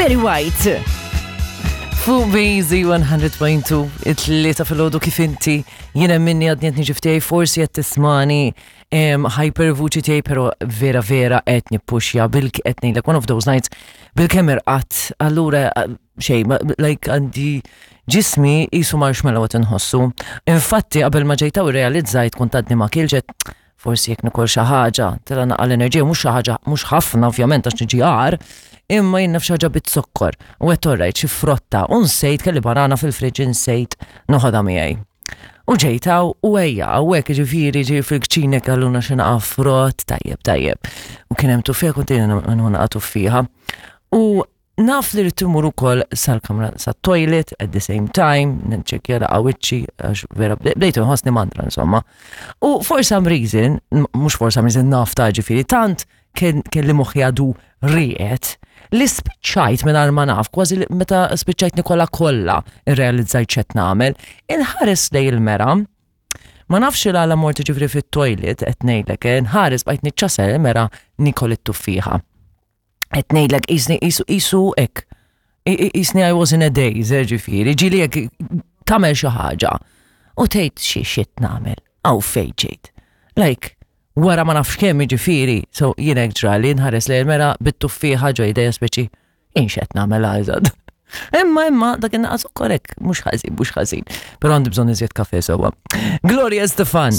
Barry White. Fuq Busy 100.2, it-tlieta fil-ħodu kif inti, jiena minni għadni qed niġi ftej, forsi qed tismani hyper vuċi tiegħi, pero vera vera qed nippuxja bil qed ngħidlek one of those nights bil-kemm irqatt, allura xejn, like għandi ġismi qisu marshmallow qed inħossu. Infatti qabel ma ġejtaw irrealizzajt kont għadni ma kilġet forsi jekk nikol xi ħaġa, tela naqa' l-enerġija mhux xi ħaġa mhux ħafna ovvjament għax niġi għar, imma jien naf xi ħaġa bit-zokkor. U qed orrajt xi frotta u nsejt kelli banana fil-friġġ insejt noħodha miegħi. U ġejtaw u ejja, hawnhekk ġifieri ġej fil-kċina kelluna xi naqa' frott, tajjeb tajjeb. U kien hemm tuffieħa kont jiena naqa' tuffieħa. U Naf li rrid immur ukoll sal-kamra sat-toilet at the same time, nċekkja laqa wiċċi għax vera bdejt inħossni mandra insomma. U for some reason, mhux for some reason naf ta' ġifieri tant kelli moħħi għadu rieqed li spiċċajt mingħajr ma naf, kważi meta spiċċajt nikola kollha irrealizzajt x'qed nagħmel, inħares lej il-mera Ma nafx il għala mort ġifri fit-toilet, qed ngħidlek, eh, nħares bqajt niċċasel mera nikol it-tuffieħa. Qed ngħidlek qisni qisu qisu hekk. Qisni I was in a daze, eh, ġifieri, ġieli jekk tagħmel xi ħaġa u tgħid xi xit nagħmel, għaw fejn ġejt. Like, wara ma nafx kemm ġifieri, so jien hekk ġrali nħares lejn mera bit-tuffieħa ġo idejja speċi jien x'qed nagħmel għażad. Imma imma dak in-naqas ukoll hekk mhux ħażin, mhux ħażin. Però għandi bżonn iżjed kafe sewwa. Gloria Stefan.